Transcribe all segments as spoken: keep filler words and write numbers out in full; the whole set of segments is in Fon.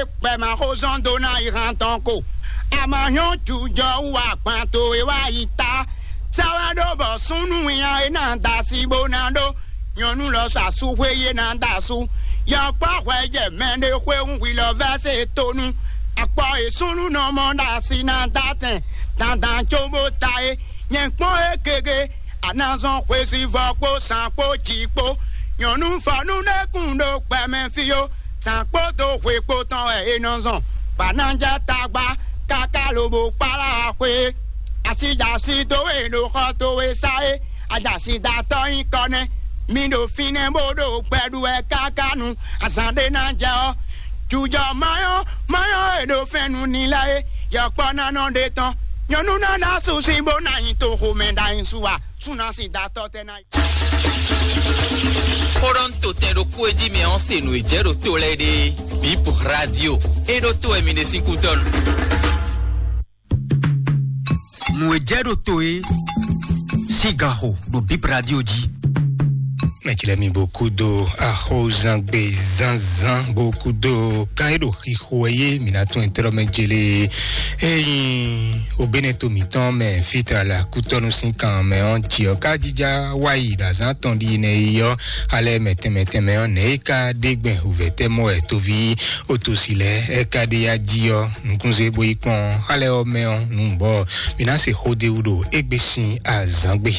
Kpɛ̌ ma xó zɔ́n dó ná yi han tɔn ko. A ma nyɔ́ jujɔ wú agban towe wá yi ta. Sɛ́ wɛ ɖó bɔ súnnu winnyá e ná da asi bó ná ɖó nyɔ̌nu lɔ sa sú xwé yé ná da asú. Yɔkpɔ́ hwɛ jɛ mɛ ɖé xwé hún hwi lɔ vɛ́ se tonu. Akpɔ e súnnu nɔ mɔ ɖo asi ná da tɛn dandan có bó ta é. Nyɛ kpɔ́n é gege, a nǎ zɔn xwesivɔ́ kpó sán kpó jǐ kpó. Nyɔ̌nu fɔ́nú ɖé kún ɖó gbɛmɛ fí ó. Zǎn kpódó hwe kpó tɔn wɛ è nɔ zɔn. Bǎnájá tagba káká lobo kpálá xwe. Asi jɛ asi dó we ɖo xɔ towe sá é. Ajasi da tɔ́ nyí kɔ nɛ́. Mi ɖo fínɛ́ bó ɖo gbɛ ɖu wɛ káká nu. Azǎn ɖé ná jɛ ɔ́, jujɔ mayɔ́ mayɔ́ e ɖo fɛ́n nú ni lɛ́ɛ é. Yɔkpɔ́ ná nɔ ɖe tɔn. Nyɔ̌nu ná ɖó asú sín bó ná nyi toxomɛ ɖ'ayǐ su a? Súnasi da tɔ́ tɛ́ ná. Xó ɖɔ ń to tɛn ɖokpó e jí mɛ ɔ́ se nǔ e jɛ ɖo to lɛ́ɛ ɖe. Bip Radio. E ɖo to wɛ mi ɖe sín kútɔ́nu. Nǔ e jɛ ɖo to e sín gan xo ɖo Bip Radio jí. Mɛjlɛ mi bó kúdó axɔzangbe zánzán bó kúdó kan e ɖo xixo wɛ yé mi ná tún ɛtrɔ mɛ jele. Eyin obénɛto mǐtɔn mɛ fitra la kútɔnu sín kan mɛ ɔ́ jí ɔ́ ká jíjá wáyi ɖo azán tɔn ɖi nɛ yi ɔ́, alɛ mɛtɛn mɛtɛn mɛ ɔ́ nɛ é ká ɖé gbɛn huvɛtɛmɔ wɛ toví otosi lɛ é ká ɖe ya jí ɔ́ nukúnzé bó yi kpɔ́n alɛ ɔ́ mɛ ɔ́ nǔ bɔ mi ná se xó ɖé wú ɖo égbé sín azán gbe.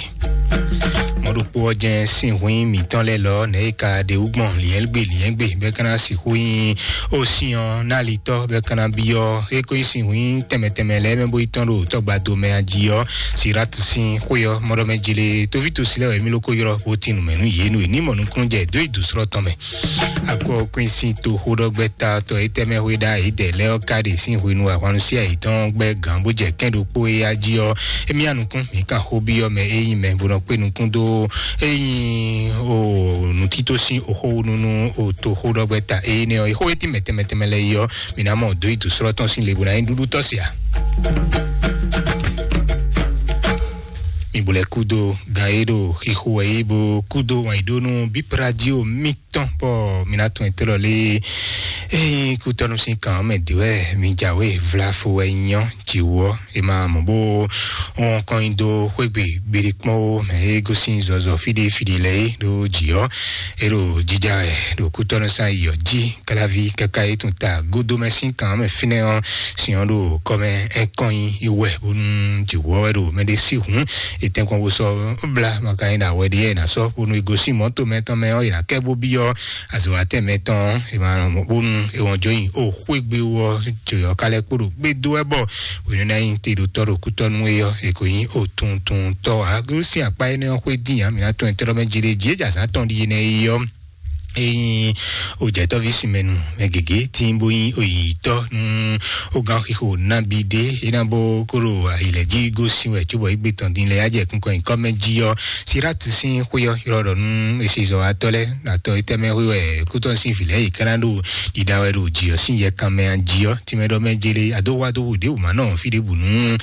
Mɔɖokpó ɔ́ jɛ́n sín hwín mǐtɔn lɛ́ɛ lɔ nɛ̌ é ka ɖe wú gbɔn liɛ́ngbé liɛ́ngbé bɛ́ ka ná sixú nyí ó sín ɔ́ ná alitɔ́ bɛ́ ka ná byɔ́ é ko nyí sín hwín tɛnmɛ tɛnmɛ lɛ́ɛ mɛ bó yi tɔ́n ɖo tɔgbado mɛ a jí ɔ́. Sirat sín xwé ɔ́ mɔɖɔ mɛ jele tóví tosi lɛ́ɛ wɛ mí ló ko ylɔ́ bó tín nǔ mɛ nú yě nú è ní mɔ nukúnnú jɛ dó yi dǒ slɔ́ tɔn mɛ. Akɔ kwín sín toxóɖɔgbɛ́ta tɔ étɛ́ mɛ hwe ɖa yědɛɛ lɛ́ɛ ɔ́ ka ɖe sín hwenu ahwannu sí ayǐtɔn gbɛ́ gǎn bó jɛ kɛ́n ɖokpó é ya jí ɔ́, émí anukún mǐ kan xó byɔ́ mɛ é nyí mɛ bó nɔ kpé nukún dó é nyí o nǔtító sín oxówúnú nú o toxóɖɔgbɛ́ta énɛ́ ɔ́. Xó e tín mɛ tɛnmɛ tɛnmɛ lɛ́ɛ yi ɔ́, mǐ ná mɔ dó yi dǒ slɔ́ tɔn sín le bó ná nyí ɖuɖú tɔ́ se ǎ. Mi bo lɛ kúdo gan e ɖo xixo wɛ yi bo kúdo wǎn yi ɖó nú bípradio mítɔn bɔ mi ná tún ɛtɛ́ lɔ lé. Eye kútɔnu sín kan mɛ dě wɛ mi jǎwe vlafo wɛ nyɔ jǐwɔ e ma mɔ bó wɔn kɔn nyi dó xwégbe gbéɖé kpɔ́n ó mɛ e gosín zɔzɔ fíɖé fíɖé lɛ é ɖó jǐ ɔ́. E ɖo jija wɛ ɖo kútɔnu sán yi ɔ́ jí. Kalavi kaka yi tun ta godo mɛ sín kan mɛ fínɛ́ ɔ́, sin ɔ́ ɖo kɔmɛ ɛkɔnyi wɛ bónú jǐwɔ wɛ ɖo mɛ ɖé sí hǔn. Etɛnkɔn wo sɔ bla maka yi na wɛ ɖi yɛ na sɔ bónú e gosín mɔto mɛ tɔn mɛ ɔ́ yi na kɛ bó byɔ azɔwatɛ mɛ tɔn e ma bónú e wɔn jɔ yi o xwégbe wɔ jɔyɔ kalɛ kpo ɖo gbé dó wɛ bɔ wenu na yi te ɖo tɔ ɖo kútɔnu e yɔ e ko yi o tuntun tɔ a gosín akpa énɛ́ ɔ́ xwé dín a mi na tɔn ɛtɛ lɔ mɛ jí ɖe jí e jazán tɔn ɖi énɛ́ yi yɔ. Eyin ojɛtɔvi simɛnu mɛ gege tí bó yin oyitɔ nú ogán xixo nabi ɖé é ná bó kóró ayilɛ jí gósin wɛ cóbɔ igbe tɔn din lɛ ajɛ kunkɔ nyikɔ mɛ jí ɔ. Sirat sín xwé ɔ ylɔ ɖɔ nú esizɔ atɔ lɛ atɔ etɛmɛ xwé wɛ kútɔ sín vǐ lɛ yi káná ɖo ɖiɖa wɛ ɖo jǐ ɔ sín yɛkan mɛ a jí ɔ tìmɛ ɖɔ mɛ jele adó wá dó wǔ ɖé wǔ má nɔ fí ɖěbǔ nú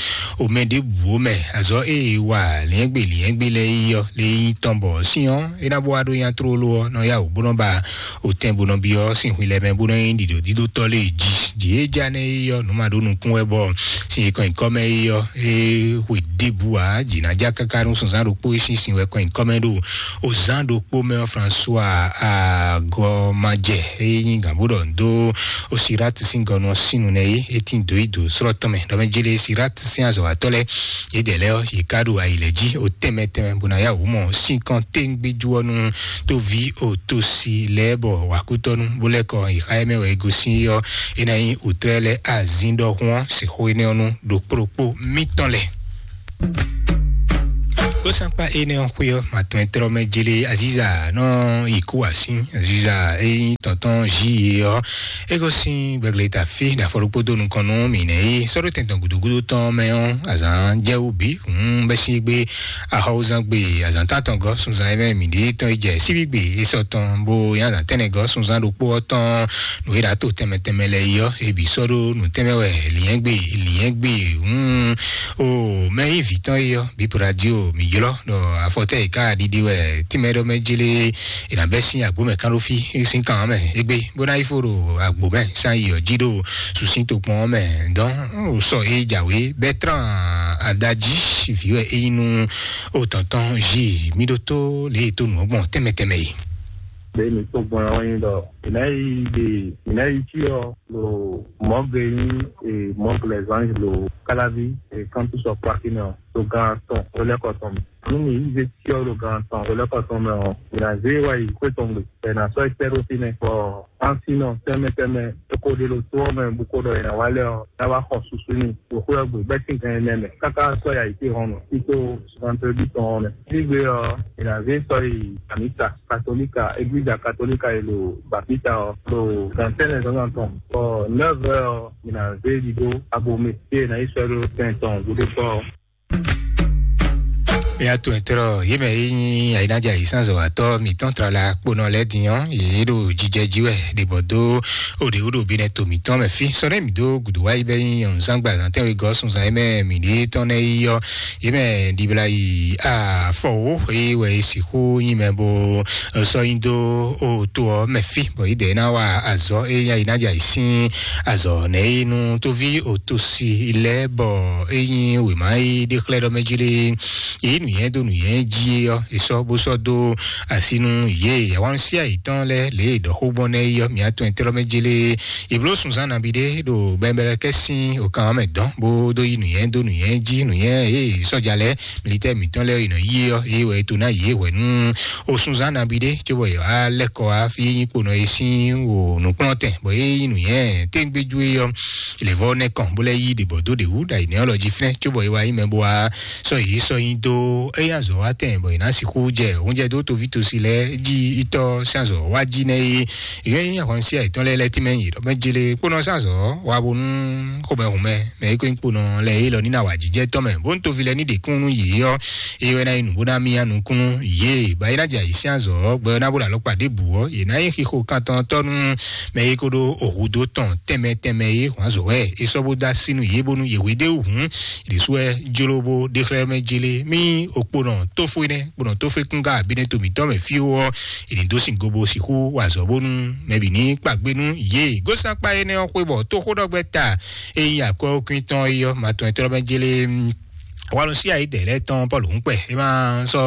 omɛ ɖěbǔ mɛ azɔ eye wa lɛ́ngbè lɛ́ngbè lɛ yi ɔ lɛ yi tɔn bɔ sín ɔ é ná bó wá ɖó nya tlóló ɔ́ nɔ yá wǔ bó nɔ ba òtɛn bó nɔ byɔ́ sín hwi lɛ́ɛ mɛ bó nɔ nyí ɖiɖo dídótɔ́ lé jí jí é já nɛ́ é yɔ nǔ ma ɖó nukún wɛ bɔ sín é kɔn nyǐkɔ mɛ é yɔ é hwe ɖěbǔ ǎ jǐ ná já káká nú sunzán ɖokpó é sín sin wɛ kɔn nyǐkɔ mɛ ɖo ozán ɖokpó mɛ ɔ́ François agɔmajɛ é nyí gǎn bó ɖɔ dó Osirat sín gɔnu ɔ́ sín nu nɛ é é tín dǒ yi dǒ slɔ́ tɔn mɛ ɖɔ mɛ jélé Sirat sín azɔ̌watɔ́ lɛ́ɛ yědɛɛ lɛ́ɛ ɔ́ yě ká ɖo ayi lɛ́ɛ jí o tɛnmɛ tɛnmɛ bó ná yá wǔ mɔ sín kɔn téŋgbéjú ɔ́ nú tóví òtosi lɛ́ɛ bɔ wǎkútɔ́nú bó lɛ́ kɔ ìxá ɛ mɛ wɛ é gosín ɔ́ é ná nyí òtrɛ́ lɛ́ɛ azín ɖɔhun ɔ́ sixú énɛ́ ɔ́ nú ɖokpó ɖokpó mítɔn lɛ́ɛ. Kósankpa énɛ́ ɔ́ xwé ɔ́ matɔn ɛtrɔ mɛ jélé aziza nɔ yi kú asín aziza é nyí tɔntɔn jí é ɔ́ é gosín gbɛgleta fí ɖo afɔ ɖokpó dó nukɔn nú mǐ nɛ́ é sɔ́ ɖó tɛn tɔn gǔdúgúdú tɔn mɛ ɔ́ azǎn jɛ wú bǐ hǔn bɛ́ sín gbé Axɔwúzán gbe azǎn tántɔn gɔ́ sunzán e mɛ mǐ ɖe tɔn yi jɛ síbígbe é sɔ́ tɔn bó nyí azǎn tɛ́nnɛ gɔ́ sunzán ɖokpó ɔ́ tɔn nǔ e ɖǎ to tɛnmɛ tɛnmɛ lɛ́ɛ yi ɔ́, é bǐ sɔ́ ɖó nǔ tɛnmɛ wɛ lǐnyɛ́gbe lǐnyɛ́gbe hǔn o mɛ nyí vǐ tɔn é ɔ́ bǐ po ɖo adí o mǐ ylɔ́ ɖɔ afɔtɛ́ yi ká ɖiɖi wɛ tínmɛ ɖɔ mɛ jélé è nǎ bɛ́ sín agbǒ mɛ kán ɖó fí sín kan ɔ́ mɛ égbé bó ná yi fó ɖo agbǒ mɛ sán yi ɔ́ jí ɖo susín tokpɔn ɔ́ mɛ. Dɔn sɔ é jǎwé bɛ́ trán adají vǐ wɛ é nyí nú o tɔntɔn jí mí ɖótó lě e tó nǔ ɔ́ gbɔn tɛnmɛ tɛnmɛ yi. Bẹ́ẹ̀ ni tó gbɔn ɔ́ nyí ɖɔ ìná yi ɖe ìná yi cyɔ lo mɔgɛ nyí e mɔgɛ lɛ zan lo kalavi e kantu sɔ kpaki nɔ to gan tɔn o lɛ kɔtɔn mi. Nú mi yi zé cyɔ lo gan tɔn o lɛ kɔtɔn mɛ ɔ, ìná zé wa yi kó tɔn gbe. Ɛ na sɔ ikpɛ ɖo fínɛ bɔ ansinɔ tɛmɛ tɛmɛ e ko ɖe lo to ɔ́ mɛ bu ko ɖɔ ìná wa lɛ ɔ, ná wa xɔ susu ni. Wòxó ɔ́ gbe bɛ́ sín gan ɛnɛ mɛ káká sɔ́ yi ayǐtéhɔn mɛ tító vendredi tɔn ɔ́ mɛ. Sígbe ɔ́, è nǎ zé sɔ́ yi amǐsa katolíka, eglíza katolíka e ɖo Bapita ɔ́, ɖo gan tɛ́nnɛ zǎnzǎn tɔn, bɔ nɛ́vɛ ɔ́, è nǎ zé ɖiɖó abomɛ, fí e è nǎ yi sɔ́ ɖó tɛn tɔn gúdo kpɔ́ ɔ́. Ya to ɛtɛrɔ yé mɛ yi nyi ayinaja yi sanzɔ atɔ mitɔn trala kponɔ lɛ dinyɔ yé ɖo jijɛ ji wɛ ɖe bɔ do o ɖe o ɖo bi nɛ to mitɔn mɛ fi sɔ ɖe mi do gudu wa yi bɛ nyi yɔn zangba zan tɛn we gɔ sun zan yi mɛ mi ɖe tɔn nɛ yi yɔ yé mɛ dibla yi afɔ wo yi wɛ yi sixu nyi mɛ bo sɔ yi do o to ɔ mɛ fi bɔ yi dɛ na wa azɔ e nya yi na ja yi sin azɔ nɛ yi nu tovi o to si lɛ bɔ e nyi wema yi ɖe xlɛ ɖɔ mɛ ji le yi nuyɛn do nuyɛn ji ɔ esɔ bo sɔ do asi nu ye yawan si ayi tɔn lɛ le dɔ xo gbɔn nɛ yi ɔ mia tɔn tɛrɔ mɛ ji le yi blo sunzan nabi ɖe ɖo bɛnbɛlɛ kɛ sin o kan mɛ dɔn bo do yi nuyɛn do nuyɛn ji nuyɛn ye sɔja lɛ militɛ mitɔn lɛ yi nɔ yi ɔ ye wɛ to na yi wɛ nu o sunzan nabi ɖe tso bɔ yɔ alɛ kɔ afi yi kponɔ yi sin o nukplɔn tɛn bɔ ye yi nuyɛn tɛngbɛju yi ɔ levɔ nɛ kɔn bo lɛ yi ɖe bɔ do ɖe wu ɖa yi nɛ ɔlɔ ji finɛ tso bɔ yi wa yi mɛ bo wa sɔ yi sɔ yi do eya zɔ wa tɛn bɔ yi na sixu jɛ oúnjẹ do tovi tosi lɛ ji itɔ sanzɔ wa ji nɛ yi ìyẹn yín ahọ́nsí àìtán lɛ lɛ tí mẹ́yìn lọ́mọ jele kpóná sàzọ́ wa bónú xomɛhomɛ mɛ yí kó kpóná lɛ yí lɔ nínú àwà jíjẹ́ tɔmɛ bó ń tovi lɛ ní dèkúnnú yìí ɔ eye wɛ ná yí nùbó ná mí anukúnnú yé báyìí ná jà yìí sí àzọ́ gbɛ ná bó làlọ́ pàdé bù ɔ yé ná yí xixo kantɔn tɔnu mɛ yí kó ɖó òhudó tɔn tɛmɛ tɛmɛ yé hɔn azɔ wɛ é sɔ bó dá sínú yé bónú yé wé dé hùn ìdísú ɛ jólóbó dé xlẹ́ mɛ jele mí òkponɔ tófó nɛ kponɔ tófó kúngá abínɛ tòmítọ́ mɛ fíó ɔ ènìdó sin gobo sixú wà zɔ bónú mɛbí ní kpàgbénú yé gósàkpá énɛ́ ɔ́ xwé bɔ tó xóɖɔgbɛ ta eyín akɔ́kún tɔn eyɔ matɔn ɛtɔ́ mɛ jélé. Wàlúsí ayédè lɛ tɔn pɔlu ń pɛ é máa sɔ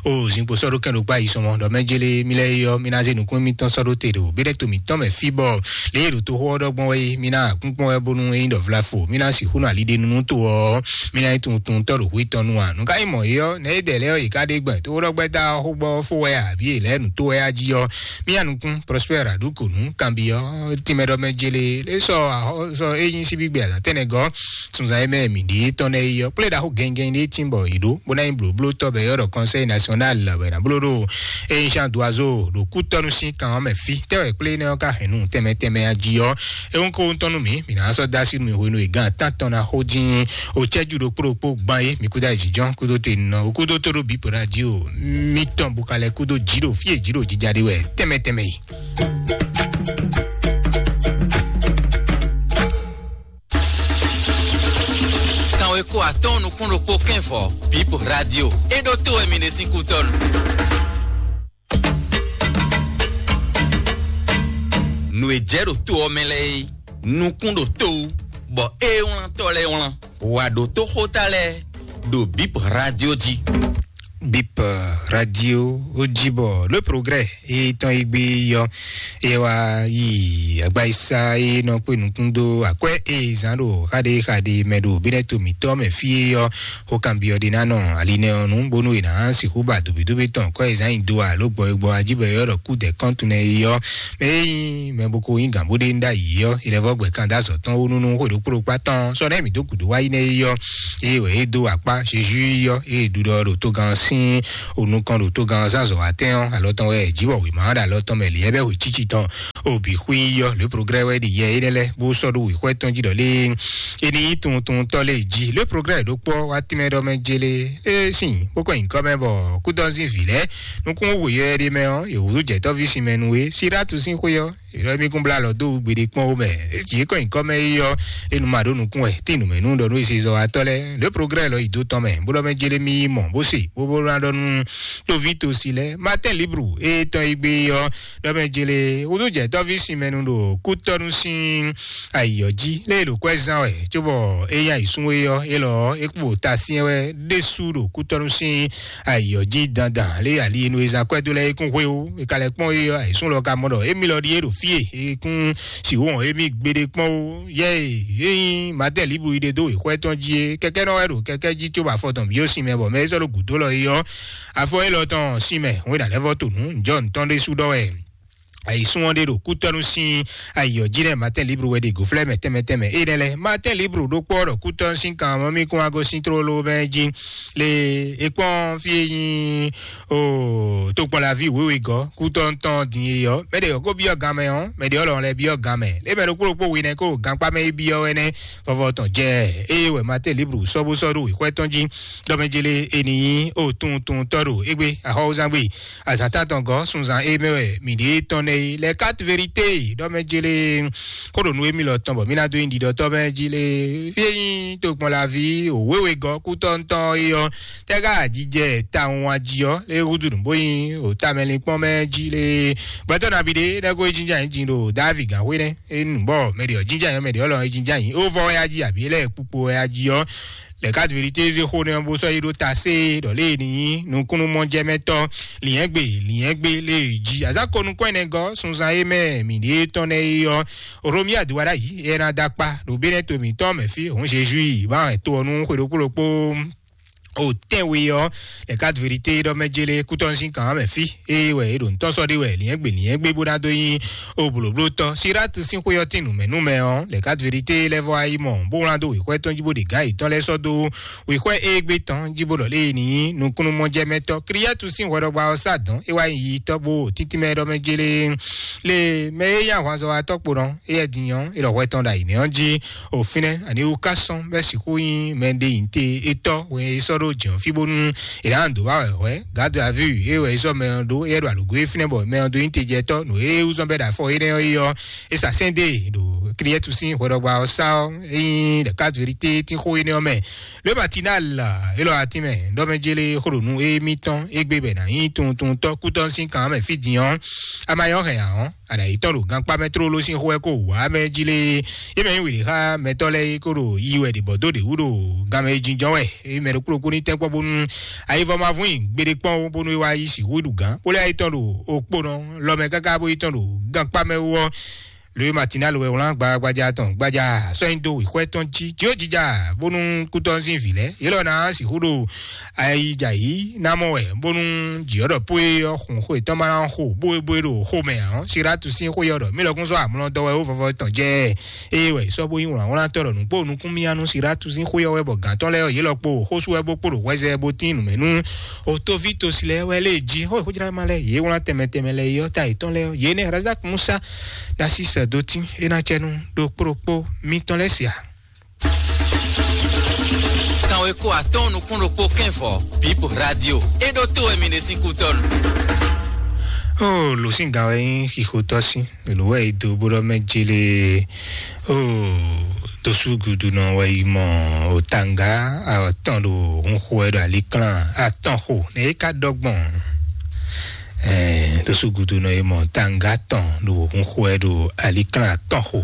ó zinkpo sɔ́ ɖó kɛn ɖó gbá yi sɔmɔ ɖɔ mɛ jélé mi lɛ yɔ mi ná zé nukún mi tɔn sɔ́ ɖó te ɖo bí ɖɛ to mi tɔn mɛ fí bɔ lě e ɖo tó xó ɔ́ ɖɔgbɔn wɛ mi ná kúnkún wɛ bónú eyín ɖɔ vlafo mi ná sixú nɔ ali ɖe nunu tó ɔ mi ná yi tuntun tɔ ɖo hu tɔn nu a nùká yi mɔ yɔ nɛ é dɛ lɛ yɔ yi ká ɖe gbɛ tó ɖɔgbɛ ta xó gbɔ fó wɛ a bí è lɛ nu tó wɛ a jí yɔ mi anukún prospère aɖukonu kanbi ɔ tìmɛ ɖɔ mɛ jélé lé sɔ ahɔ sɔ eyín síbí gbé azatɛnɛ gɔ sunzan yɛ mɛ mi ɖi tɔn nɛ yi yɔ kplé ɖaxó gɛngɛn ɖé tìmbɔ yi ɖó bó ná yi blóbló tɔ bɛ yɔ ɖɔ conseil national bɛ na bló ɖo eyín sian doazo ɖo kútɔnu sín kan ɔ́ mɛ fí tɛwɛ kplé nɛ ɔ́ ka hɛn nu tɛmɛ tɛmɛ a jí ɔ ehun ko ŋutɔ nú mi mi ná sɔ dá sí nu hwenu e gán atán tɔn ná xó dín o cɛ́jú ɖokpó ɖokpó gbán é mi kúdó ayǐjínjɔ́n kúdó te nɔ o kúdó tó ɖó bípo ná jí o mi tɔn bukalɛ kúdó jǐ ɖo fí e jǐ ɖo jija ɖe wɛ tɛmɛ tɛmɛ yi. Kanwe ko atɔn nukún ɖokpó kɛn vɔ bípo radio é ɖó tó wɛ mi ɖe sín kútɔnu. Nǔ e jɛ ɖo to ɔ́ mɛ lɛ́ɛ é nukún ɖo to wú bɔ é wlán tɔ lɛ́ɛ wlán wà ɖo tóxóta lɛ́ɛ ɖo bip radio jí. Bip radio ó jí bɔ le progrès é tɔn yi gbé yɔ é wá yi agbáyísá é nɔ kpé nukún dó akwɛ́ é zán ɖo xaɖé xaɖé mɛ ɖo bínɛ́ to mǐtɔn mɛ fí é yɔ xó kanbyɔ́ ɖé ná nɔ ali nɛ ɔ́ nú bónú è nǎ sixú ba dǒbídóbí tɔn kɔ́ e zán nyi do alo gbɔ e gbɔ ajíbɔ e ɔ́ ɖɔ kú dɛ̌ kɔ́ntun nɛ é yɔ mɛ e nyí mɛ bo ko nyí gǎn bó ɖe ń ɖ'ayǐ ɔ́ è lɛ́ vɔ́ gbɛ kan dó azɔ̌ tɔn wú nú nú xwé ɖokpó ɖokpá tɔn sɔ́ nɛ́ mǐ dó gǔdo wá yi nɛ́ é yɔ eye wɛ é dó akpá Jezu yɔ eye ɖuɖɔ ɖo togán ɔ́ sí sín onukɔn ɖo tógán zánzɔ atɛ́n ɔ́, alɔ tɔn wɛ jǐ bɔ wěma ɖo alɔ tɔn mɛ lǐyɛ́ bɛ́ wěcíci tɔn. Obi xwí yɔ le progrès wɛ ɖi yɛ énɛ́ lɛ́ɛ bó sɔ́ ɖó wěxwɛ́ tɔn jí ɖɔ lé é ní nyí tunwun tunwun tɔ́ lé jí. Le progrès ɖó kpɔ́ wá tínmɛ ɖɔ mɛ jélé é sín bó kɔ nyǐkɔ mɛ bɔ kúdɔ́zín vǐ lɛ́ɛ nukún wěyɔ ɖé mɛ ɔ́, yě húzú jɛ̌tɔ́ví sinmɛ nú é. Sirátu sín xwé ɔ́, ìrɔ mí kún blá lɔ dó gbeɖé kpɔ́n ó mɛ. Yě kɔ nyǐkɔ mɛ é ɔ́, é nu ma ɖó nukún wɛ tín nǔmɛnú ɖɔ nú esezɔwatɔ́ lɛ́ɛ. Le progrès lɔ yi dó tɔn mɛ bó ɖɔ mɛ jélé mí mɔ bó se bó bó ná ɖɔ nú tóví tosi lɛ́ɛ. Martin Libru e tɔn yi gbé ɔ́, ɖɔ mɛ jélé wúdú jɛ tɔ́ví sinmɛnu ɖo kútɔ́nú sín ayǐyɔ jí lé ɖo kwɛ́ zán wɛ, cóbɔ é nyí ayǐsún é ɔ́, é lɔ ɔ́, é kpo ta syɛ́n wɛ ɖésú ɖo kútɔ́nú sín ayǐyɔ jí dandan lé ali e nú e zán kwɛ́ dó lɛ́ɛ é kún xwé ó. È ka lɛ́ kpɔ́n é ɔ́, ayǐsún lɔ ka mɔ ɖɔ émí lɔ ɖíe ɖo fí e é kún sixú wɔn émí gbeɖé kpɔ́n ó. Yɛ e é nyí Matɛ́ Libru yi ɖe dó wěxwɛ́ tɔn jí é, kɛkɛ́nɔ wɛ ɖo kɛkɛ́ jí cóbɔ afɔ tɔn bǐ ó sin mɛ bɔ mɛ e sɔ́ ɖo gǔdo lɔ é ɔ́, afɔ élɔ́ tɔn sin mɛ hwé ɖo alɛ́vɔ́ to nǔ njɔ̌ ntɔn ɖésú ɖɔ wɛ. Ayǐsún ɔ́ ɖe ɖo kútɔ́nú sín ayǐyɔ jí nɛ́ Matɛ́n Libru wɛ ɖe gǒflɛ́ mɛ tɛnmɛ tɛnmɛ. Énɛ́ lɛ́ɛ Matɛ́n Libru ɖó kpɔ́ ɖɔ kútɔ́nú sín kan mɔ mí kún wá gosín tlóló mɛ jí. Le é kpɔ́n fí e nyí o tokpɔnlaví wěwe gɔ́ kútɔ́ntɔn din e ɔ́, mɛ ɖě ɔ́ kó byɔ́ gan mɛ ɔ́, mɛ ɖě ɔ́ lɔn lɛ́ byɔ́ gan mɛ. Lě mɛ ɖokpó ɖokpó we nɛ́ kó gankpá mɛ yi byɔ́ wɛ nɛ́. Vɔvɔ tɔn jɛ eye wɛ Matɛ́n Libru sɔ́ bó sɔ́ ɖó wěxwɛ́ tɔn jí. Ɖɔ mɛ jélé e ní nyí o tunwun tunwun tɔ́ ɖo égbé axɔ́wúzán gbe. Azǎn tántɔn gɔ́ sunzan e mɛ wɛ mǐ ɖe tɔn nɛ́ é lɛ quatre vérité ɖɔ mɛ jélé kó ɖo nú émí lɔ tɔn bɔ mí ná dó nyi ɖiɖɔtɔ́ mɛ jí lé. Fí e nyí tokpɔnlaví òwéwe gɔ́ kútɔ́ntɔn é ɔ́, tɛ́gá ajijɛ tawun ají ɔ́ lé húzú nǔ bó nyí òtamɛlinkpɔ́n mɛ jí lé. Gbɛtɔ́ nabí ɖé lɛ́ kó é jínjá nyǐ din ɖo Davi gǎnxwé nɛ́. É nu bɔ mɛ ɖě ɔ́ jínjá nyǐ, mɛ ɖě ɔ́ lɔ é jínjá nyǐ. Ó vɔ wɛ ají abǐ lɛ́ kpukpo wɛ ají ɔ́, lɛ quatre vérité zé xó nɛ́ bó sɔ́ yi ɖó ta sé ɖɔ lé e ní nyí nukúnnú mɔjɛmɛtɔ́. Lǐnyɛ́gbe lǐnyɛ́gbe lé e jí azǎn ko nukɔn ɛnɛ gɔ́ sunzan e mɛ mǐ ɖe tɔn nɛ́ é ɔ́, Romia do wá ɖ'ayǐ é ná dó akpá ɖo bénɛ́ to mǐtɔn mɛ fí òun Jezu yi bá wɛ to ɔ́ nú xwe ɖokpó ɖokpó. O tɛ́nwe ɔ́, lɛ quatre vérité ɖɔ mɛ jélé kútɔ́ sín kan mɛ fí. Ée wɛ é ɖo ntɔ́ sɔ́ ɖé wɛ lǐnyɛ́gbe lǐnyɛ́gbe bó ná dó nyí o blǒblótɔ́. Sirátu sín xwé ɔ́ tín nǔmɛnúmɛ ɔ́, lɛ quatre vérité lɛ́ vɔ ayí mɔ bó wlán dó wěxwɛ́ tɔn jí bó ɖe gǎn yětɔn lɛ́ɛ sɔ́ dó wěxwɛ́ égbé tɔn jí bó ɖɔ lé ní nyí nukúnnú mɔjɛmɛtɔ́. Kliyɛ́tu sín hwɛɖɔgba ɔ́ sá dɔ̌n é wá nyí yitɔ́ bó títínmɛ ɖɔ mɛ jélé. Le mɛ e nyí ahwanzɔ́watɔ́ kpo nɔ éyɛ́ din ɔ́, é lɔ hwɛ tɔn ɖo ayǐ nɛ́ ɔ́ jí. O fínɛ́ ani wú ká sɔ́n bɛ́ sixú nyí mɛ ɖé nyi te étɔ́ wɛ é sɔ́ ɖó jǐ ɔ́ fí bónú è nǎ dǒ wá wɛ hwɛ̌. Gǎdo aví e wɛ é sɔ́ mɛ ɔ́ ɖó éyɛ́ ɖo alǒgó e fínɛ́ bɔ mɛ ɔ́ dó nyí tejɛtɔ́ nǔ e wú zɔ́n bɛ́ ɖo afɔ énɛ́ ɔ́ yi ɔ́, é sa sɛ́n dó e ɖo Kliyɛ́tu sín hwɛɖɔgba ɔ́ sá ɔ́, é nyí ɖɛ̌kadvérité tín xó énɛ́ ɔ́ mɛ. Lě Matinal élɔ́ atín mɛ ɖɔ mɛ jélé xó ɖo nú émítɔn égbé bɔ è nǎ nyí tunwuntunwuntɔ́ kútɔ́ sín kan mɛ fí din ɔ́, a ma nyɔ́ hɛn ǎ ɔ́, a nǎ yi tɔ́n ɖo gankpá mɛ tlóló sín xó wɛ kó wǎ mɛ jí lé. É mɛ nyí wěɖé xá mɛtɔ́ lɛ́ɛ é kó ɖo yi wɛ ɖě bɔ dó ɖě wú ɖo ganmɛ e jínjɔ́n wɛ é mɛ ɖokpó ɖokpó ní tɛ́nkpɔ́n bónú ayivɔ ma vún nyi gbeɖé kpɔ́n ó, bónú é wá yi sixú ɖu gǎn bó lɛ́ yi tɔ́n ɖo okpónɔ lɔ mɛ káká bó yi tɔ́n ɖo gankpá mɛ wú ɔ́. Lóye Matinal wɛ wlán gbagbaja tɔn gbaja sɔ́ nyi dó wěxwɛ́ tɔn jí jí ó jija bónú kútɔ́ sín vǐ lɛ́ɛ yě lɔ ná sixú ɖo ayijǎ yí ná mɔ wɛ bónú jǐ ɔ́ ɖɔ pó é ɔ́ xun xó yětɔn ma ná xo bóebóe ɖo xomɛ ǎ. Siratu sín xó yɛ ɔ́ ɖɔ mí lɔkún sɔ́ amlɔ dɔ wɛ ó vɔvɔ tɔn jɛ ée wɛ sɔ́ bó nyí wlǎnwlán tɔ́ ɖɔ nǔ kpó nukún mía nú Siratu sín xó yɛ wɛ bɔ gǎn tɔn lɛ́ɛ ɔ́ yě lɔ kpo xósú wɛ bó kpo ɖo hwɛzɛ bó tín nǔmɛ nú otóví tosi lɛ́ɛ wɛ lé jí xó xójlá ma lɛ́ɛ yě wlán tɛnmɛ tɛnmɛ lɛ́ɛ yé ɔ́ ta yětɔn lɛ́ɛ ɔ́ yě nɛ́ Razak Musa Narcisse Dotin é ná cɛ nú ɖokpó ɖokpó mítɔn lɛ́ɛ sia. Kanweko atɔ́ɔ́n nukún ɖokpó kɛ́nvɔ Bib Radio é ɖó tó wɛ mi ɖe sín kútɔ́nu. Ó lǒ sín gǎn wɛ nyí xixotɔ́ sín lǒ wɛ é dó bó ɖɔ mɛ jélé. Ó dosú gudu nɔ wɛ yi mɔ òtanga atɔn ɖo hun xo wɛ ɖo aliklán atɔn xo nɛ é ka ɖɔ gbɔn. Dosú gudu nɔ yi mɔ tanga tɔn ɖo hun xo wɛ ɖo aliklán atɔn xo.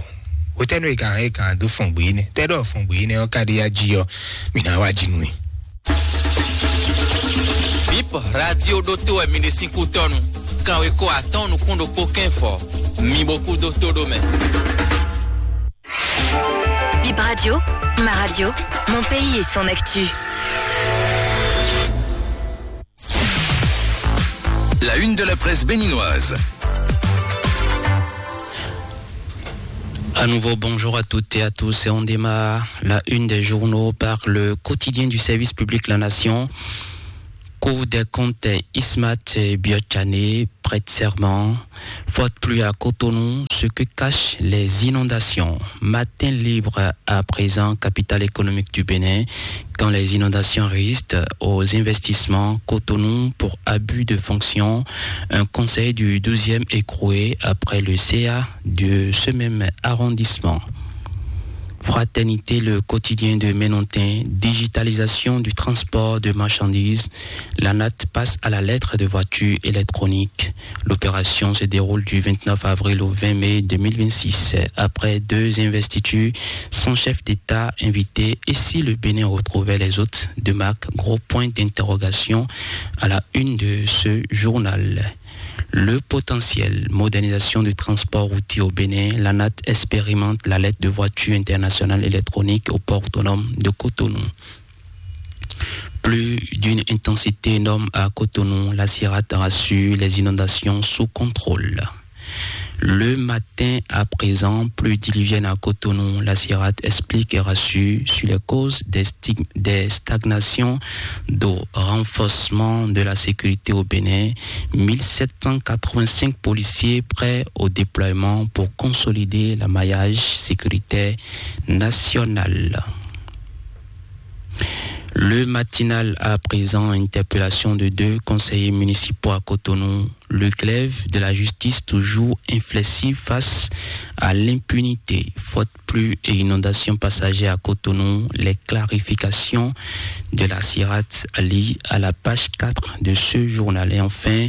Wotɛnu e kan e kan do fɔn gbe ne tɛ ɖɔ fɔn gbe ne ɔ ka ɖi ya ji ɔ mi na wa ji nui. Bip Radio ɖó tó wɛ mi ɖe sín kútɔnu. Kanweko atɔn nukún ɖokpó kɛn fɔ. Mi bo kú dó tó ɖó mɛ. Bip Radio, ma radio, mon pays et son actu. La une de la presse béninoise. À nouveau, bonjour à toutes et à tous. Et on démarre la une des journaux par le quotidien du service public La Nation. Cour des comptes Ismat Biotchané prête serment. Forte pluie à Cotonou, ce que cachent les inondations. Matin libre à présent, capitale économique du Bénin. Quand les inondations résistent aux investissements, Cotonou pour abus de fonction. Un conseil du douzième écroué après le C A de ce même arrondissement. Fraternité, le quotidien de Ménontin, digitalisation du transport de marchandises, l'ANAT passe à la lettre de voiture électronique. L'opération se déroule du vingt-neuf avril au vingt mai deux mille vingt-six. Après deux investitures, cent chefs d'État invités, et si le Bénin retrouvait les hôtes de marque, gros point d'interrogation à la une de ce journal. Le potentiel, modernisation du transport routier au Bénin, l'ANAT expérimente la lettre de voiture internationale électronique au port autonome de Cotonou. Plus d'une intensité énorme à Cotonou, la CIRAT rassure, les inondations sous contrôle. Le matin à présent, pluie diluvienne à Cotonou, la CIRAT explique et rassure sur les causes des, stig- des stagnations d'eau, renforcement de la sécurité au Bénin, mille sept cent quatre-vingt-cinq policiers prêts au déploiement pour consolider le maillage sécuritaire national. Le matinal à présent, interpellation de deux conseillers municipaux à Cotonou. Le glaive de la justice toujours inflexible face à l'impunité. Forte pluie et inondation passagère à Cotonou. Les clarifications de la CIRAT à lire à la page quatre de ce journal. Et enfin,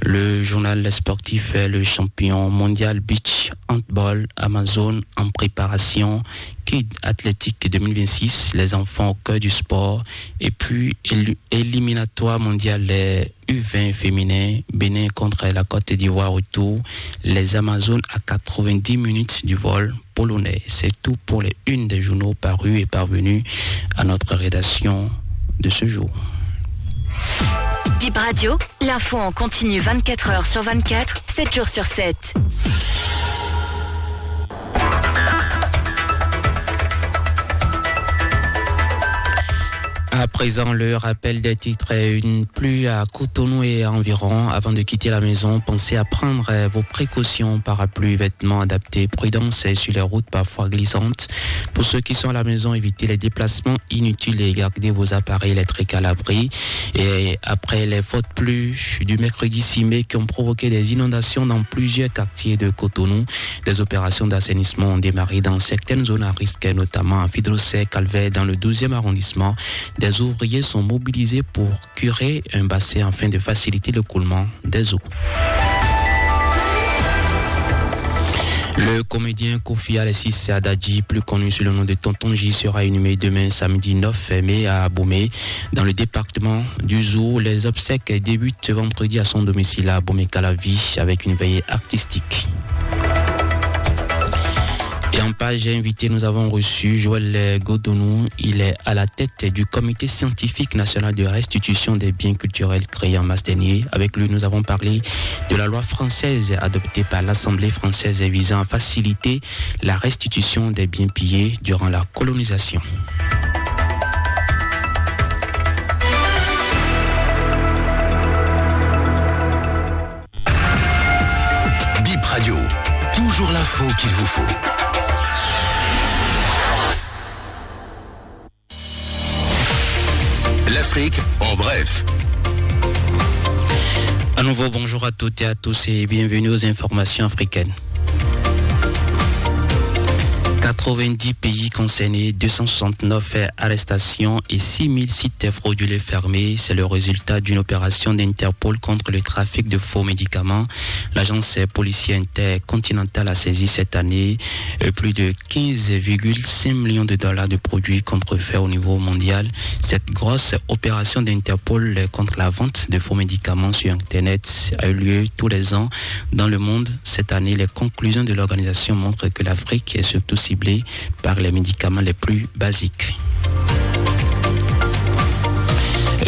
le journal sportif, le champion mondial beach handball Amazone en préparation, Kid Athlétique deux mille vingt-six, les enfants au cœur du sport, et puis élu- éliminatoire mondial, les U vingt féminin, Bénin contre la Côte d'Ivoire retour, les Amazones à quatre-vingt-dix minutes du vol polonais. C'est tout pour les unes des journaux parus et parvenus à notre rédaction de ce jour. Bip Radio, l'info en continu vingt-quatre heures sur vingt-quatre, sept jours sur sept. À présent, le rappel des titres, une pluie à Cotonou et environ. Avant de quitter la maison, pensez à prendre vos précautions, parapluie, vêtements adaptés, prudence sur les routes parfois glissantes. Pour ceux qui sont à la maison, évitez les déplacements inutiles et gardez vos appareils électriques à l'abri. Et après les fortes pluies du mercredi six mai qui ont provoqué des inondations dans plusieurs quartiers de Cotonou, des opérations d'assainissement ont démarré dans certaines zones à risque, notamment à Fidrosset, Calvaire, dans le douzième arrondissement. Des ouvriers sont mobilisés pour curer un bassin afin de faciliter l'écoulement des eaux. Le comédien Kofi Alexis Adadji, plus connu sous le nom de Tonton J, sera inhumé demain samedi neuf mai à Abomey, dans le département du Zour. Les obsèques débutent ce vendredi à son domicile à Abomey-Calavi avec une veillée artistique. Et en page invitée, nous avons reçu Joël Godonou. Il est à la tête du Comité scientifique national de restitution des biens culturels créé en mars dernier. Avec lui, nous avons parlé de la loi française adoptée par l'Assemblée française visant à faciliter la restitution des biens pillés durant la colonisation. Bip Radio, toujours l'info qu'il vous faut. L'Afrique en bref. À nouveau, bonjour à toutes et à tous et bienvenue aux informations africaines. Quatre-vingt-dix pays concernés, deux cent soixante-neuf arrestations et six mille sites frauduleux fermés. C'est le résultat d'une opération d'Interpol contre le trafic de faux médicaments. L'agence policière intercontinentale a saisi cette année euh, plus de quinze virgule cinq millions de dollars de produits contrefaits au niveau mondial. Cette grosse opération d'Interpol contre la vente de faux médicaments sur Internet a eu lieu tous les ans dans le monde. Cette année, les conclusions de l'organisation montrent que l'Afrique est surtout ciblée par les médicaments les plus basiques.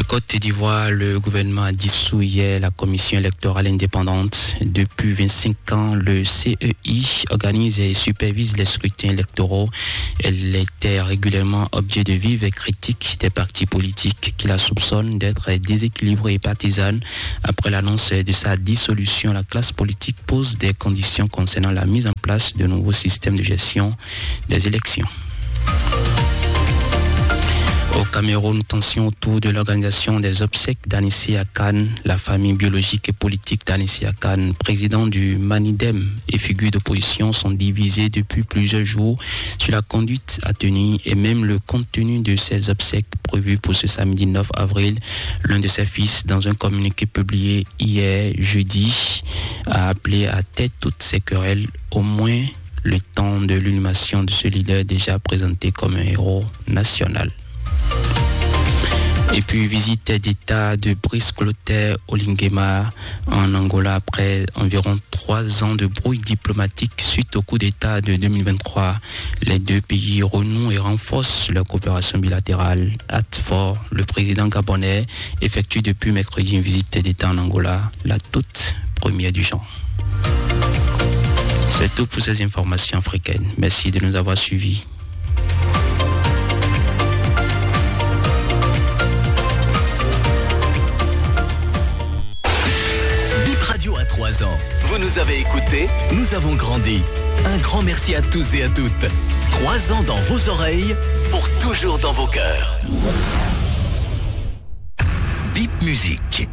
Côte d'Ivoire, le gouvernement a dissous hier la commission électorale indépendante. Depuis vingt-cinq ans, le C E I organise et supervise les scrutins électoraux. Elle était régulièrement objet de vives critiques des partis politiques qui la soupçonnent d'être déséquilibrée et partisane. Après l'annonce de sa dissolution, la classe politique pose des conditions concernant la mise en place de nouveaux systèmes de gestion des élections. Au Cameroun, tension autour de l'organisation des obsèques d'Anissé Akane. La famille biologique et politique d'Anissé Akane, président du Manidem et figure d'opposition, sont divisées depuis plusieurs jours sur la conduite à tenir et même le contenu de ces obsèques prévues pour ce samedi neuf avril. L'un de ses fils, dans un communiqué publié hier jeudi, a appelé à taire toutes ces querelles, au moins le temps de l'inhumation de ce leader déjà présenté comme un héros national. Et puis, visite d'État de Brice Clotaire Oligema en Angola après environ trois ans de brouille diplomatique suite au coup d'État de deux mille vingt-trois. Les deux pays renouent et renforcent leur coopération bilatérale. Hâte fort, le président gabonais effectue depuis mercredi une visite d'État en Angola, la toute première du genre. C'est tout pour ces informations africaines. Merci de nous avoir suivis. Bip Radio a trois ans. Vous nous avez écoutés, nous avons grandi. Un grand merci à tous et à toutes. Trois ans dans vos oreilles, pour toujours dans vos cœurs. Bip Musique.